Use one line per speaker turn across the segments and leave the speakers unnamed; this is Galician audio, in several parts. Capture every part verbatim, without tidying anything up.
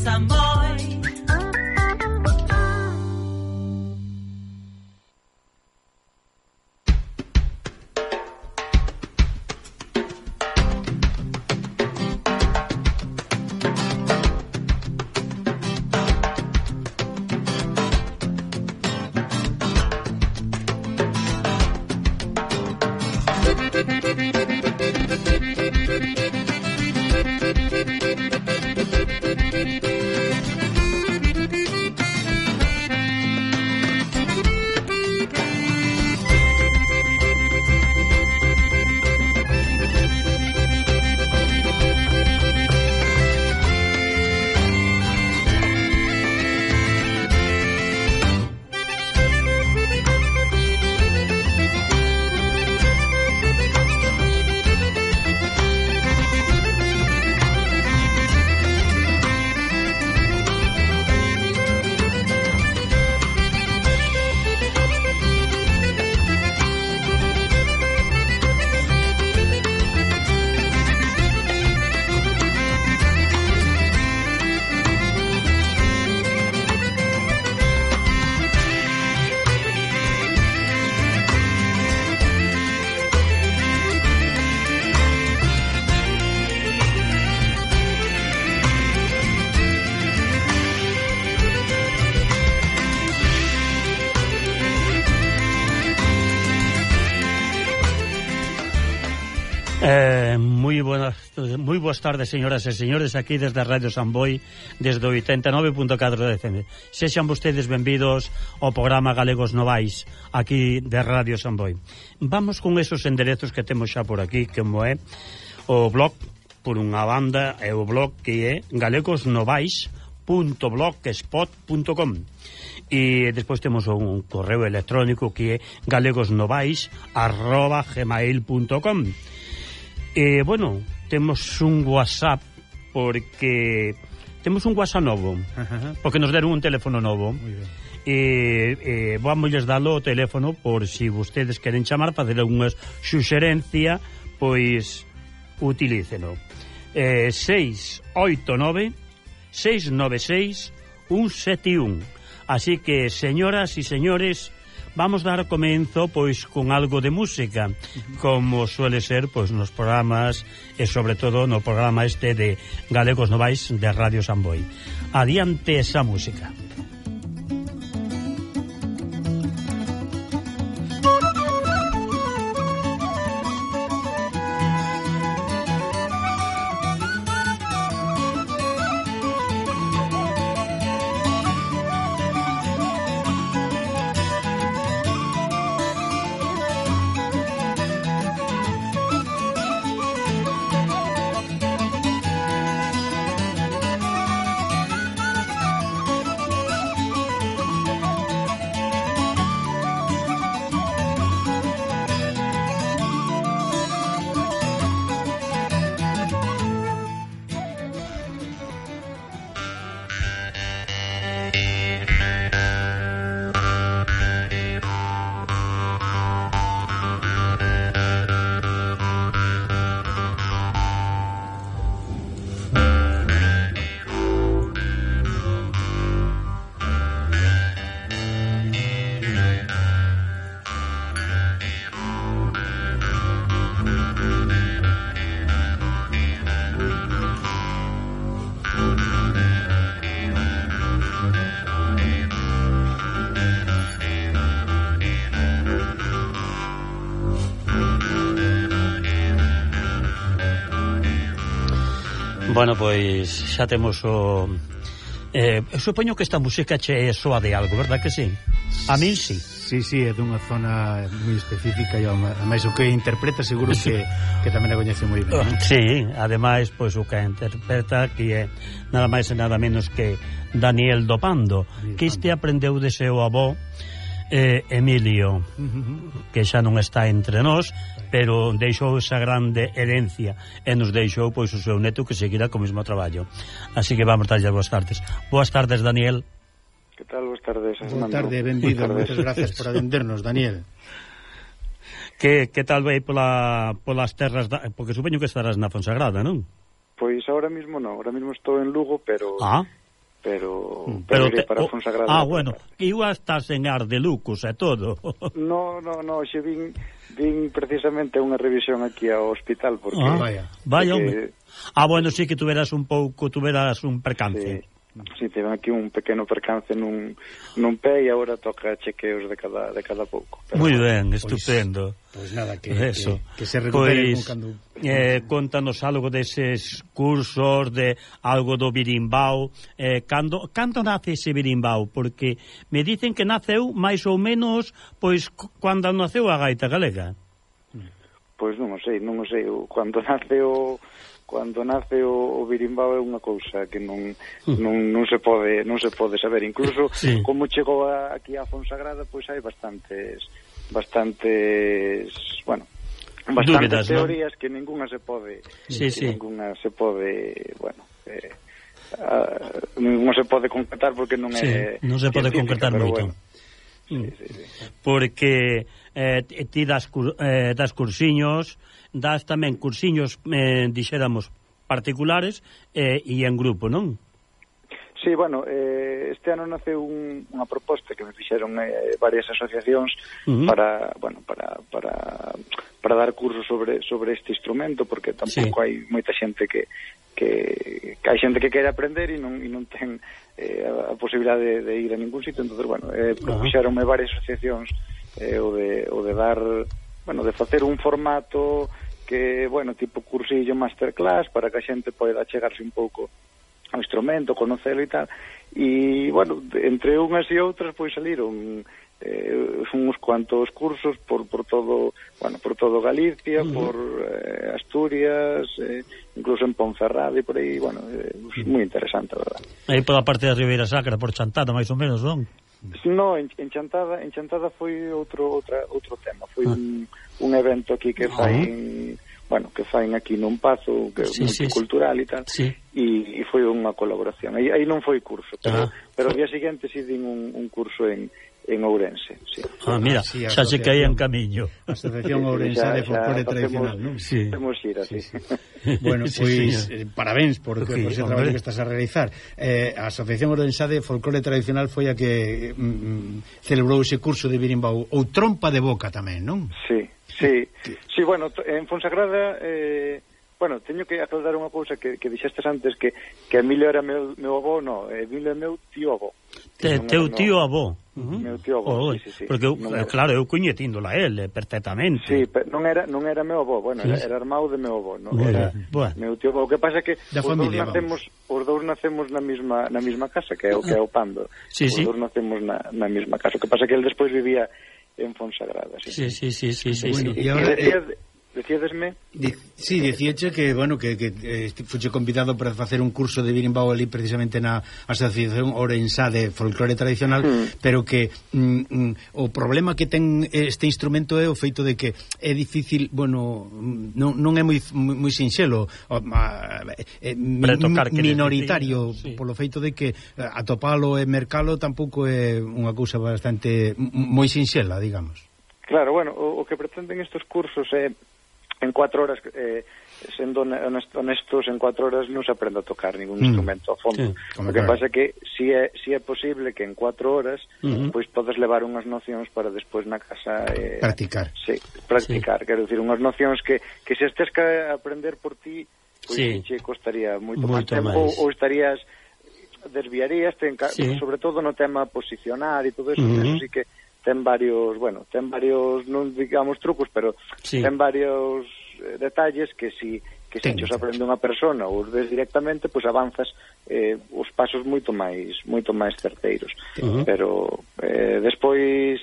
Samboy.
Eh, moi buenas, moi boas tardes, señoras e señores, aquí desde Radio Samboy, desde o oitenta e nove punto catro de F M. Sexan vostedes benvidos ao programa Galegos Novais, aquí de Radio Samboy. Vamos con esos enderezos que temos xa por aquí, como é o blog, por unha banda, é o blog que é galegosnovais punto blogspot punto com. E despois temos un correo electrónico que é galegosnovais arroba gmail punto com. E, bueno, temos un WhatsApp porque temos un WhatsApp novo, uh-huh. porque nos deron un teléfono novo.
Muy ben.
E, e vamos dalo o teléfono por si vostedes queren chamar, fazer unha suxerencia, pois utilíceno. Eh, seis oito nove seis nove seis un sete un. Así que, señoras e señores, vamos dar comenzo pois con algo de música, como suele ser pois nos programas e sobre todo no programa este de Galegos Novais de Radio Samboy. Adiante esa música. Bueno, pois xa temos o... Eh, supoño que esta música che soa de algo, verdad que sí? A min sí.
Sí, sí, é dunha zona moi específica e ademais o que interpreta seguro que, que tamén a coñece moi ben, non?
Sí, ademais, pois o que interpreta que é nada máis e nada menos que Daniel Dopando, Daniel que este aprendeu de seu avó eh, Emilio, uh-huh. que xa non está entre nós, pero deixou esa grande herencia e nos deixou pois o seu neto que seguirá co mesmo traballo. Así que vamos darlle boas tardes. Boas tardes, Daniel.
Que tal? Boas tardes,
Boa tarde, benvido. Moitas gracias por atendernos, Daniel.
Que, que tal vai pola, polas terras da, porque supoño que estarás na Fonsagrada, non?
Pois ahora mismo non, ahora mismo estou en Lugo, pero
ah.
pero,
mm.
pero,
pero te,
para
oh,
Fonsagrada.
Ah, bueno, igual estás en ar de lucos e todo.
No, no, no, xe vin, vin precisamente unha revisión aquí ao hospital, porque...
Ah,
vaya,
vaya,
porque,
ah, bueno, sí que tuveras un pouco, tuveras un percance.
Sí. Si, sí, tiven aquí un pequeno percance nun, nun pé e agora toca chequeos de cada, de cada pouco.
Moi ben,
Pois,
estupendo.
Pois pues nada, que,
Eso.
que, que se recupere
Pois,
cando...
eh, contanos algo deses cursos, de algo do birimbao. Eh, cando, cando nace ese birimbao? Porque me dicen que naceu máis ou menos pois cando naceu a gaita galega.
Pois non o sei, non o sei. Cando nace o... Cando nace o, o birimbao é unha cousa que non, non, non se pode non se pode saber. Incluso
sí.
como chegou a, aquí a Fonsagrada, pois hai bastantes bastantes, bueno, bastantes
dúbidas,
teorías,
¿no?
Que ninguna se pode,
sí,
que
sí.
ninguna se pode, bueno, eh, uh, non se pode concretar porque non
sí,
é
non se pode concretar moito.
Bueno. Sí, sí, sí.
Porque eh, ti das, eh, das cursiños, das tamén cursiños, eh, dixéramos, particulares eh, e en grupo, non?
Sí, bueno, eh, este ano nace un, unha proposta que me fixeron eh, varias asociacións uh-huh. para, bueno, para, para, para dar cursos sobre, sobre este instrumento, porque tampouco sí. hai moita xente que, que, que hai xente que quere aprender e non, e non ten eh, a, a posibilidade de, de ir a ningún sitio. Entonces, bueno, eh, uh-huh. fixeronme varias asociacións eh, o, de, o de dar, bueno, de facer un formato que, bueno, tipo cursillo masterclass para que a xente poida chegarse un pouco ao instrumento, conocelo e tal, e, bueno, entre unhas e outras, pois saliron eh, uns cuantos cursos por, por todo, bueno, por todo Galicia, uh-huh. por eh, Asturias, eh, incluso en Ponferrada e por aí, bueno, eh, uh-huh. moi interesante, a verdad.
Aí pola parte da Ribeira Sacra, por Chantada, máis ou menos, non?
No, en, en Chantada, en Chantada foi outro outra outro tema, foi uh-huh. un, un evento aquí que fai uh-huh. bueno, que faen aquí nun pazo que
sí,
multicultural
sí,
e tal,
sí.
e, e foi unha colaboración. Aí, aí non foi curso, pero,
ah.
pero o día seguinte si din un, un curso en, en Ourense. Sí.
Ah, mira, sí, xa se caía en camiño.
Asociación Ourense de Folclore Tradicional, non?
Sí. Temos ir así.
Sí, sí. Bueno, pois, pues, sí, eh, parabéns por, sí, por ese traballo que estás a realizar. Eh, a Asociación Ourense de Folclore Tradicional foi a que mm, celebrou ese curso de birimbao, ou trompa de boca tamén, non?
Sí. Sí, sí, bueno, en Fonsagrada, eh, bueno, teño que aclarar unha cousa que, que dixestes antes, que, que Emilio era meu, meu avó, no, Emilio é meu tío avó.
Te, teu tío avó.
Uh-huh. Meu tío avó, oh, sí, sí, sí.
Porque, eu, claro, eu coñetíndola ele perfectamente.
Sí, pero non era, non era meu avó, bueno, sí. era, era irmão de meu avó, non era bueno. Meu tío avó. O que pasa é que
da
os
familia,
dous nacemos, os dous nacemos na mesma na mesma casa, que é o que é o Pando.
Sí,
os
sí.
dous nacemos na, na mesma casa. O que pasa é que ele despois vivía en Fonsagrada, sí.
Sí, sí, sí, sí, sí,
bueno,
sí.
E ahora,
eh, decíadesme?
Di, sí, dicíache que, bueno, que, que eh, fuche convidado para facer un curso de birimbao ali precisamente na Asociación Ourensá de Folclore Tradicional, mm. pero que mm, mm, o problema que ten este instrumento é o feito de que é difícil, bueno, non, non é moi, moi sinxelo, é minoritario, sí. Polo feito de que atopalo e mercalo tampouco é unha cousa bastante moi sinxela, digamos.
Claro, bueno, o, o que pretenden estes cursos é en cuatro horas, eh, sendo honestos, en cuatro horas non se aprende a tocar ningún mm. instrumento a fondo. Sí, o que claro. Pasa é que si é, si é posible que en cuatro horas uh-huh. pois podes levar unhas nocións para despois na casa eh,
practicar.
Sí, practicar, sí. Quero dicir, unhas nocións que, que se estés que aprender por ti, pois
sí.
che costaría moito, moito máis tempo máis. Ou, ou estarías desviarías, ten, sí. sobre todo no tema posicionar e todo eso, uh-huh. eso sí que ten varios, bueno, ten varios, non digamos trucos, pero sí. ten varios eh, detalles que si que se os aprende unha persona ou os ves directamente, pois pues avanzas eh, os pasos moito máis moito máis certeiros. Uh-huh. Pero eh, despois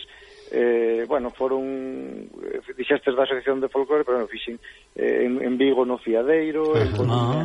eh, bueno, foron dixestes da Asociación de Folclore, pero non fixen eh, en, en Vigo no Fiadeiro, uh-huh. en Coruña,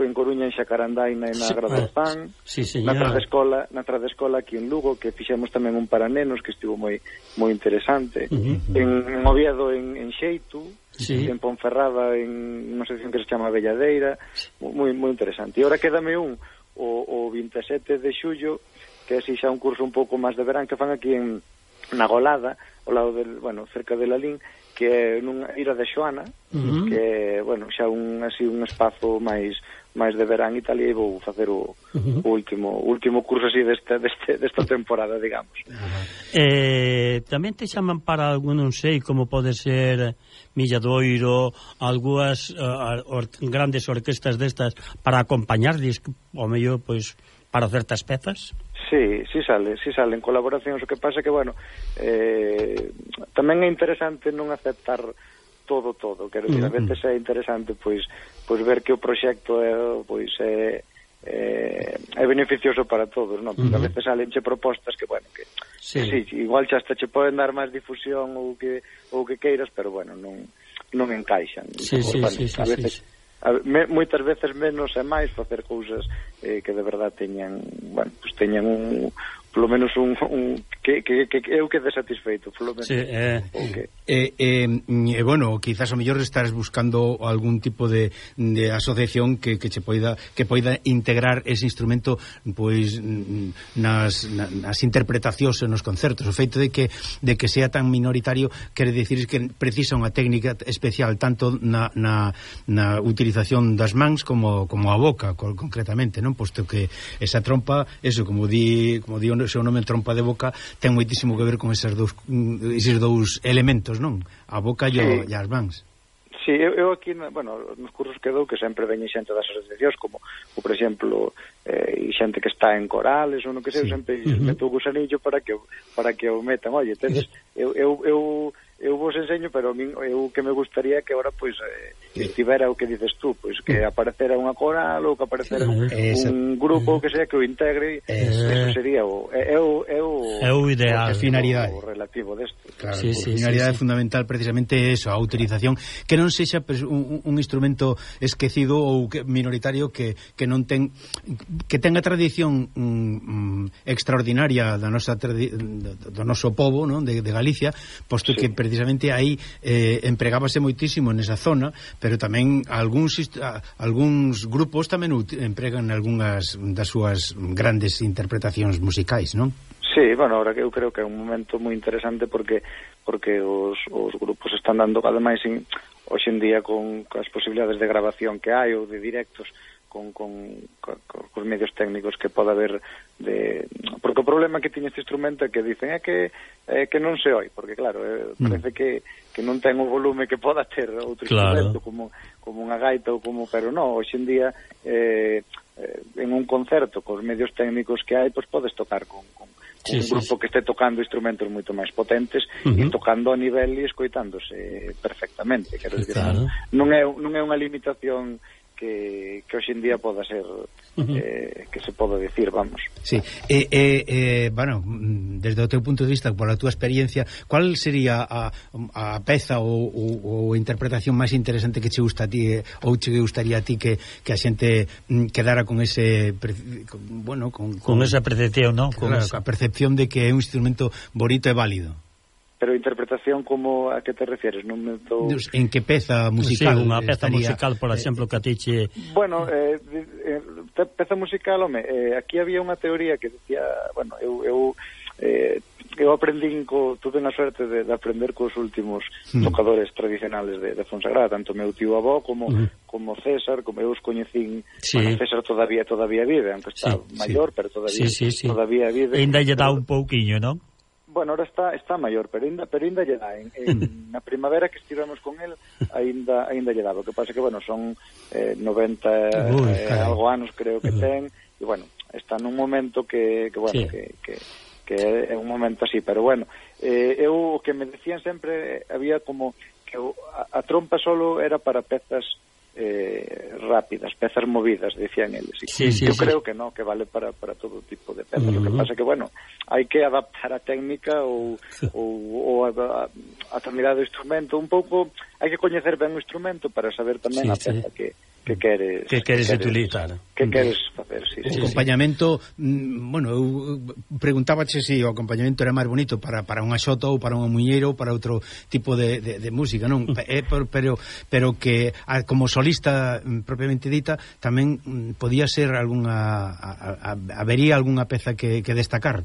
en Coruña en Xacarandaina e na sí, Gradozán,
sí,
na Tradescola, na Tradescola aquí en Lugo, que fixemos tamén un para nenos que estivo moi moi interesante. Uh-huh. En, en Oviedo en, en Xeitu, sí. En Ponferrada en unha sección que se chama Belladeira, moi moi interesante. E agora quédame un o, o veintisiete de xullo, que é así xa un curso un pouco máis de verán que fan aquí en na Golada, ao lado del, bueno, cerca de Lalín, que é nunha ira de Xoana, uh-huh. que é, bueno, xa un así un espazo máis máis de verán e tal, e vou facer o, uh-huh. o último último curso así deste, deste, desta temporada, digamos.
Uh-huh. Eh, tamén te chaman para algún, non sei, como pode ser Milladoiro, algunhas uh, or, grandes orquestas destas para acompañarles, o mellor, pois, para certas pezas?
Sí, sí sale, sí salen colaboracións, o que pasa que, bueno, eh, tamén é interesante non aceptar todo, todo, quero dicir, a veces é interesante, pois, pois ver que o proxecto é, pois, é, é, é beneficioso para todos, non? Porque uh-huh. a veces salenche propostas que, bueno, que, sí. que sí, igual xa hasta che poden dar máis difusión ou que, ou que queiras, pero, bueno, non, non encaixan.
Sí, sí, bueno, sí, sí,
a veces,
sí, sí.
A, me, moitas veces menos é máis facer cousas eh, que de verdad teñan, bueno, pues teñan un, polo menos un, un que, que, que eu quede satisfeito, polo menos.
Sí, eh,
okay.
eh, eh, eh, bueno, quizás o mellor estarás buscando algún tipo de, de asociación que, que che poida que poida integrar ese instrumento pois nas, nas interpretacións e nos concertos. O feito de que de que sea tan minoritario quere dicir que precisa unha técnica especial tanto na, na, na utilización das mans como, como a boca, concretamente, non? Posto que esa trompa, eso, como di, como di o seu nome, trompa de boca, ten moitísimo que ver con esos dous, esos dous elementos, non? A boca e, sí. e as mans.
Sí, eu, eu aquí, bueno, nos cursos que dou, que sempre veñe xente das asociacións, como, como por exemplo, eh, xente que está en corales, ou non que sei, sí. eu sempre uh-huh. meto o gusanillo para que, para que o metan. Oye, entonces, eu, eu, eu, eu vos enseño, pero a min, eu que me gustaría que agora, pois, eh, estivera o que dices tú, pois, que aparecera unha coral, ou que aparecera un, un grupo, ou que sea, que o integre, eso, eso sería o, é, é o, é o,
é o ideal,
o, finalidade. O relativo desto.
Claro, sí, sí, finalidade sí, sí. fundamental precisamente é eso, a utilización, que non sexa pues, un, un instrumento esquecido ou que, minoritario que, que non ten que tenga tradición um, um, extraordinaria da nosa tradi do, do noso pobo, non? De, de Galicia, posto sí. que precisamente aí eh, empregábase moitísimo nesa zona, pero tamén algúns algúns grupos tamén empregan algunhas das súas grandes interpretacións musicais, non?
Sí, bueno, ahora que eu creo que é un momento moi interesante porque porque os, os grupos están dando, ademais, in, hoxe en día con, con as posibilidades de grabación que hai ou de directos con, con, con, con os medios técnicos que pode haber de... Porque o problema que tiña este instrumento é que dicen é que é que non se oi, porque claro, é, parece mm. que, que non ten o volume que poda ter outro claro. instrumento como, como unha gaita ou como, pero non, hoxe en día eh, eh, en un concerto cos medios técnicos que hai, pois podes tocar con, con Sí, un grupo sí, sí. que este tocando instrumentos moito máis potentes uh-huh. e tocando a nivel e escoitándose perfectamente, quero dicir, claro. non é non é unha limitación que, que hoxe en día poda ser uh-huh. eh, que se poda decir, vamos.
Sí, eh, eh, eh, bueno, desde o teu punto de vista, por a túa experiencia, cuál sería a, a peza ou, ou, ou interpretación máis interesante que che gusta a ti eh, ou che gustaría a ti que, que a xente mm, quedara con ese con, bueno, con,
con, con esa percepción, ¿no?
Con claro, esa... a percepción de que é un instrumento bonito e válido.
Pero interpretación como a que te refieres? Non me tô...
En que peza musical?
Sí, unha peza estaría... musical, por exemplo, que a ti che...
Bueno, eh, eh, peza musical, home, eh, aquí había unha teoría que decía, bueno, eu eu, eh, eu aprendín, co, tuve unha suerte de, de aprender cos últimos mm. tocadores tradicionales de, de Fonsagrada, tanto meu tío avó como mm. como César, como eu os coñecín, sí. bueno, César todavía todavía vive, aunque está sí, maior, sí. pero todavía sí, sí, sí. todavía vive.
E ainda lle dá un pouquiño, non?
Bueno, ahora está está maior, pero ainda pero ainda lle dá en, en na primavera que estivemos con el, aínda aínda lle dá. O que pasa que bueno, son eh, noventa Uy, eh, algo anos creo que ten, e bueno, está nun momento que que bueno, sí. que, que que é un momento así, pero bueno, eh, eu o que me decían sempre había como que o, a, a trompa solo era para pezas eh, rápidas, pezas movidas, decían eles.
Sí, sí,
eu
sí.
creo que no, que vale para, para todo tipo de pezas. Uh-huh. Lo que pasa que, bueno, hai que adaptar a técnica ou, ou, ou a, a, a terminar do instrumento un pouco, hai que coñecer ben o instrumento para saber tamén sí, a peza sí. que que queres
que queres, que queres utilizar
que queres facer, sí,
o
sí,
acompañamento, sí. bueno, eu preguntábache se si o acompañamento era máis bonito para, para unha xota ou para un muñeiro ou para outro tipo de, de, de música, non? É, pero, pero que a, como solista propiamente dita tamén podía ser algunha a, a, habería algunha peza que, que destacar.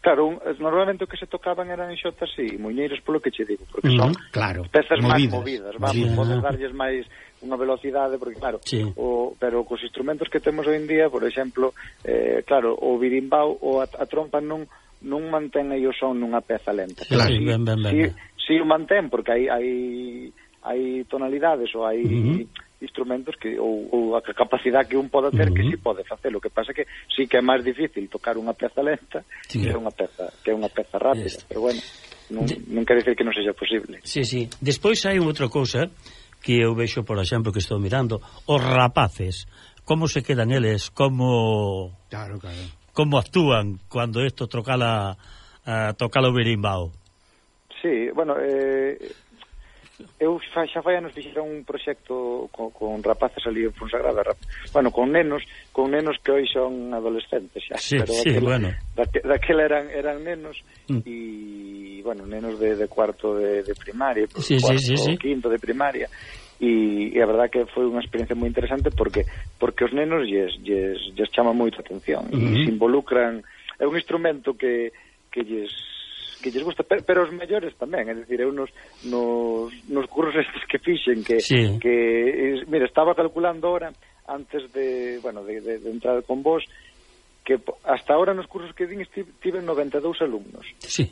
Claro, un, normalmente o que se tocaban eran xotas e muñeiros, polo que che digo, porque son
uh-huh, claro,
pezas máis
movidas,
movidas, vamos,
movidas.
podes darlles máis unha velocidade, porque claro,
sí.
o, pero cos instrumentos que temos hoy en día, por exemplo, eh, claro, o birimbau ou a, a trompa non non mantén aí o son nunha peza lenta.
Claro,
si,
ben, ben, ben.
Si, si o mantén, porque hai hai hai tonalidades ou hai uh-huh. instrumentos que ou, ou a capacidade que un pode ter uh-huh. que si pode facer. O que pasa que sí que é máis difícil tocar unha peza lenta sí. que é unha peza que é unha peza rápida, Esto. pero bueno, non, non quer dizer que non sexa posible.
Sí, sí. Despois hai outra cousa que eu vexo, por exemplo, que estou mirando, os rapaces, como se quedan eles, como
Claro, claro.
como actúan cando isto trocala a tocar o berimbau.
Sí, bueno, eh eu xa, xa fai anos fixeron un proxecto con, con rapaces ali en Fonsagrada, rap, bueno, con nenos, con nenos que hoy son adolescentes xa,
sí,
pero
sí,
daquela,
bueno.
daquela, daquela eran eran nenos e,
mm.
bueno, nenos de, de cuarto de, de primaria,
sí,
cuarto,
sí, sí, sí.
quinto de primaria, e, e a verdad que foi unha experiencia moi interesante porque porque os nenos lles, lles, lles chama moito a atención uh-huh. e se involucran, é un instrumento que, que lles que lles gusta, pero, pero os mellores tamén, é dicir, eu nos, nos, nos cursos estes que fixen, que,
sí.
que mira, estaba calculando ahora, antes de, bueno, de, de, de entrar con vos, que hasta ahora nos cursos que din tive noventa e dous alumnos.
Sí.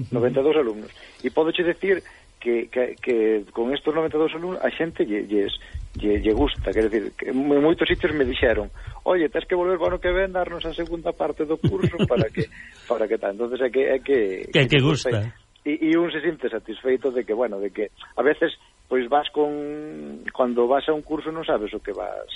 noventa e dous alumnos. E podo che decir que, que, que con estos noventa e dous alumnos a xente lle, lles, lle, lle gusta, quer decir, que en moitos sitios me dixeron, oye, tens que volver o ano que ven darnos a segunda parte do curso para que para que tal. Entonces é que é que
que, que, que gusta.
E, e un se siente satisfeito de que, bueno, de que a veces pois vas con cando vas a un curso non sabes o que vas,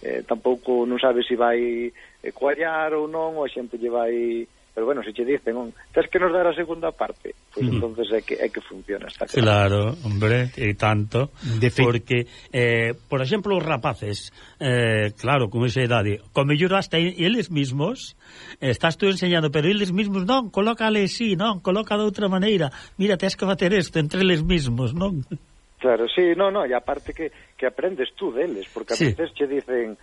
eh, tampouco non sabes se vai eh, coallar ou non, ou a xente lle vai. Pero bueno, se che dicen, un, tens que nos dar a segunda parte, pois pues, mm. entonces é que é que funciona, está
Claro,
claro.
hombre, e tanto, de porque eh, por exemplo, os rapaces, eh, claro, con esa idade, con mellor hasta eles mismos, eh, estás tú enseñando, pero eles mismos, non, colócale así, non, coloca de outra maneira, mira, tens que bater isto entre eles mismos, non?
Claro, sí, no, no, e aparte que, que aprendes tú deles, porque a
sí.
veces che dicen,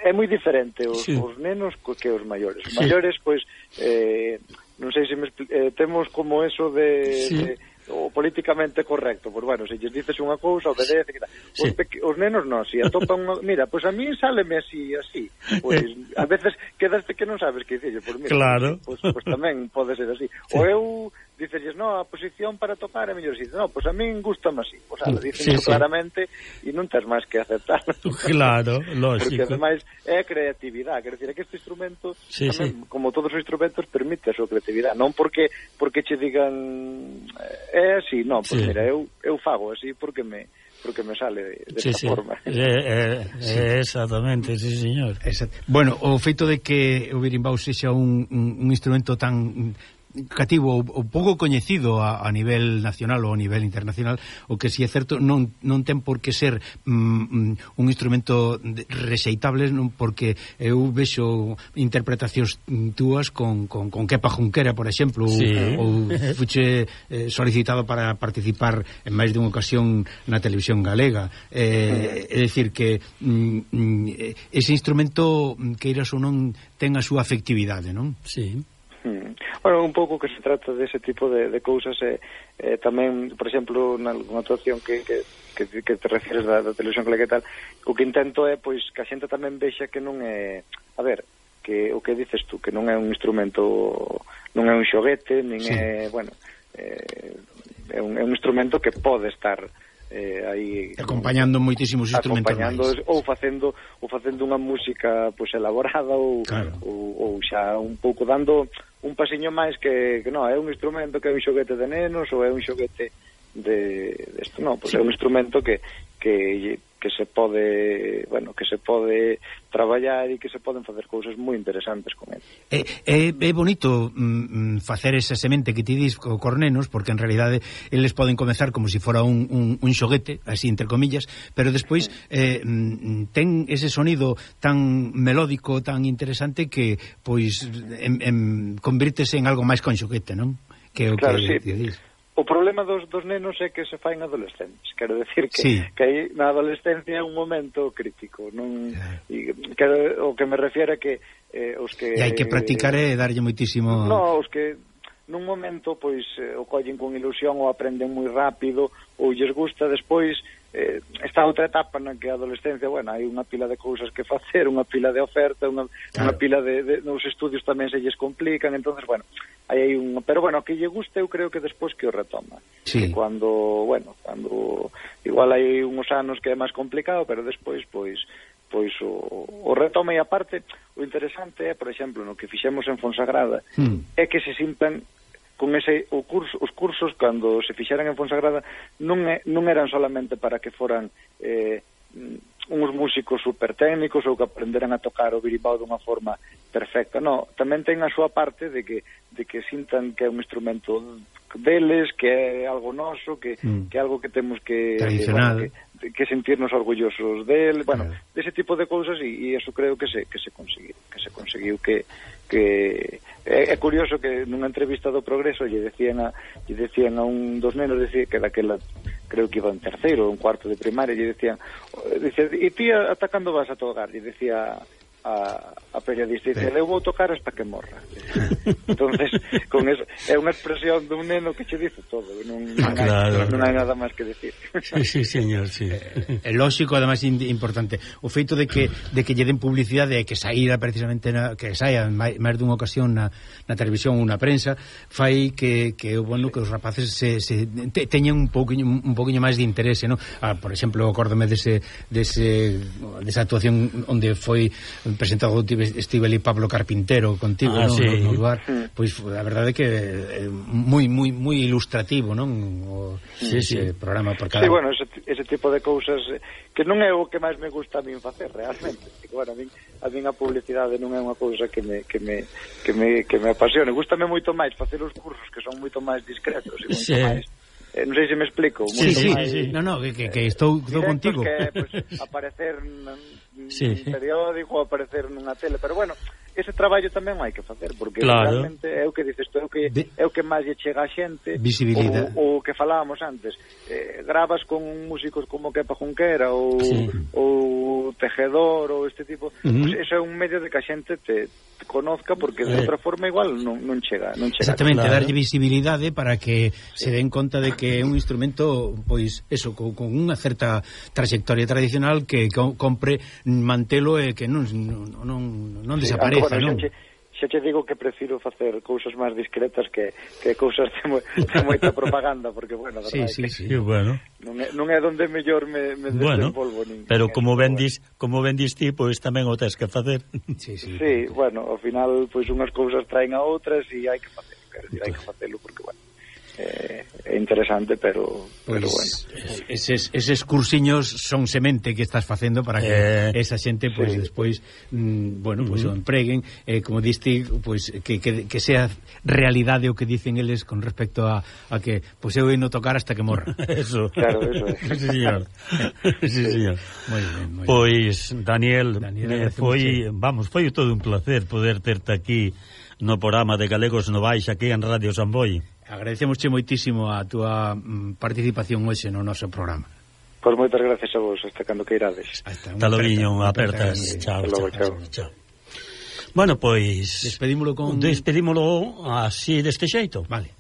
é moi diferente os, sí. os nenos que os maiores. Os sí. maiores, pois, eh, non sei se me eh, temos como eso de, sí. de o políticamente correcto, pois bueno, se lles dices unha cousa, obedece, que tal. Sí. Os, peque, os nenos non, si atopan unha, mira, pois a mí sáleme así, así. Pois a veces quedaste que non sabes que dicir, pois mira,
claro.
pois, pois tamén pode ser así. Sí. O eu dices, no, a posición para tocar é mellor, si, no, pois a min gustame así, pois ala, dicen sí, sí. claramente e non tens máis que aceptarlo.
Claro, lógico.
Porque ademais é creatividade, quer dizer, que este instrumento
sí,
tamén,
sí.
como todos os instrumentos, permite a súa creatividade, non porque porque che digan é así, non, pois sí. mira, eu, eu fago así porque me porque me sale desta
sí, sí.
forma.
Eh, eh, sí. eh, exactamente, sí, señor.
Exact. Bueno, o feito de que o berimbau sexa un, un, un instrumento tan cativo ou, ou pouco coñecido a, a nivel nacional ou a nivel internacional, o que si é certo non, non ten por que ser mm, un instrumento rexeitable, non, porque eu vexo interpretacións túas con, con, con Kepa Junquera, por exemplo, sí. ou, ou fuche eh, solicitado para participar en máis dunha ocasión na televisión galega, eh, é dicir que mm, ese instrumento, queiras ou non, ten a súa afectividade, non?
Sí.
Hmm. Bueno, un pouco que se trata dese tipo de, de cousas eh, eh, tamén, por exemplo, na actuación que, que, que, que te refieres da, da televisión que tal, o que intento é pois que a xente tamén vexa que non é, a ver, que o que dices tú, que non é un instrumento, non é un xoguete, nin sí. é, bueno, eh, é, un, é un instrumento que pode estar eh, aí
acompañando moitísimos instrumentos
acompañando máis. ou facendo ou facendo unha música pois elaborada ou,
claro.
ou, ou xa un pouco dando un pasiño máis que, que non, é un instrumento que é un xoguete de nenos ou é un xoguete de, de isto, non, pois sí. é un instrumento que, que que se pode, bueno, que se pode traballar e que se poden facer cousas moi interesantes con ele.
É, é, é bonito mm, facer esa semente que ti dis co cornenos, porque en realidade eles poden comezar como se si fora un, un, un xoguete, así entre comillas, pero despois eh, ten ese sonido tan melódico, tan interesante que pois en, en, convírtese en algo máis con xoguete, non? Que o
claro,
que,
sí.
que dis.
O, o problema dos, dos nenos é que se faen adolescentes, quero decir que,
sí.
que aí na adolescencia é un momento crítico, non, e, quero, o que me refiere que eh, os que...
E hai que practicar e darlle moitísimo...
No, os que nun momento pois eh, o collen con ilusión ou aprenden moi rápido ou lles gusta, despois eh, esta outra etapa na que a adolescencia, bueno, hai unha pila de cousas que facer, unha pila de oferta, unha, claro. unha pila de, de nos estudios tamén se lles complican, entonces bueno, aí hai un, pero bueno, que lle gusta eu creo que despois que o retoma.
Sí.
Que cuando, bueno, cuando igual hai uns anos que é máis complicado, pero despois pois pois o, o retoma, e aparte o interesante é, por exemplo, no que fixemos en Fonsagrada, mm. é que se sintan con ese o curso, os cursos cando se fixeran en Fonsagrada non, é, non eran solamente para que foran eh, uns músicos super técnicos ou que aprenderan a tocar o birimbao dunha forma perfecta, no, tamén ten a súa parte de que, de que sintan que é un instrumento deles, que é algo noso, que, mm. que é algo que temos que,
tradicional,
bueno, que, que sentirnos orgullosos del, bueno, claro. dese tipo de cousas, e, e eso creo que se que se conseguiu, que se conseguiu que que é, é curioso que nunha entrevista do Progreso lle decían a lle decían a un dos nenos, decía que daquela creo que iba en terceiro ou en cuarto de primaria, lle decían, decía, e ti ata cando vas a tocar? Lle decía a, a periodista, dice, eu vou tocar hasta que morra. Entonces, con eso, é unha expresión dun neno que che dice todo, non, non,
claro,
hai, non hai nada máis que decir.
Sí, sí, señor, sí.
É, é lógico, además importante, o feito de que de que lle den publicidade e que saíra precisamente na, que saia máis, máis dunha ocasión na, na televisión ou na prensa, fai que, que bueno, que os rapaces se, se te, teñan un pouquiño un pouquiño máis de interese, ¿no? Ah, por exemplo, acórdame dese dese desa actuación onde foi presentado Estíbal e Pablo Carpintero contigo, ah, ¿no? Sí. No, no lugar, mm. pois a verdade é que é moi moi moi ilustrativo, non? O, sí, ese sí. programa por cada...
Sí, bueno, ese, ese tipo de cousas que non é o que máis me gusta a min facer realmente. Porque, bueno, a min a min a publicidade non é unha cousa que me que me que me que me apasione. Gústame moito máis facer os cursos que son moito máis discretos e moito sí. máis Eh, non sei se me explico.
Sí, sí, máis, sí, no, no, que, que, que estou, estou contigo.
Que, pues, aparecer nun sí. periódico, aparecer nunha tele, pero bueno, ese traballo tamén hai que facer, porque claro. realmente é o que dices tú, é o que, é o que máis lle chega a xente,
visibilidade.
O, o que falábamos antes, eh, gravas con músicos como Kepa Junquera ou, sí. ou Tejedor ou este tipo, uh -huh. pues eso é un medio de que a xente te, te conozca, porque de eh. outra forma igual non, non chega, non chega.
Exactamente, claro. Darlle visibilidade para que sí. se den conta de que é un instrumento, pois, eso, con, con unha certa trayectoria tradicional que compre mantelo e que non non, non, non
sí,
desapareza,
bueno,
non?
Xa, xa te digo que prefiro facer cousas máis discretas que, que cousas de, mo, de moita propaganda, porque, bueno,
sí, sí,
sí,
sí, bueno.
Non é, non é donde mellor me, me
bueno,
desenvolvo nin,
pero
nin
como vendis, como vendis ti, pois pues, tamén o tes que facer.
Sí, sí, sí, bueno, ao final, pois pues, unhas cousas traen a outras e hai que facelo, quero dicir, hai que facelo porque, bueno, eh, é interesante, pero,
pues,
pero bueno.
Eses, eses cursiños son semente que estás facendo para que eh, esa xente, pois, pues, sí. despois, mm, bueno, pois, pues, uh -huh. o empreguen, eh, como diste, pois, pues, que, que, que sea realidade o que dicen eles con respecto a, a que, pois, pues, eu ino tocar hasta que morra.
Eso.
Claro, eso é.
Sí, señor. Sí, señor.
Moi ben, moi
pois, ben. Daniel,
Daniel
eh, foi, vamos, foi todo un placer poder terte aquí no programa de Galegos Novais, aquí en Radio Samboy.
Agradecemosche moitísimo a túa mm, participación hoxe no noso programa.
Pois moitas gracias a vos, hasta cando que irades.
Hasta logo, apertas. Chao, chao, chao, chao. Bueno, pois...
Despedímolo con...
Despedímolo así deste xeito.
Vale.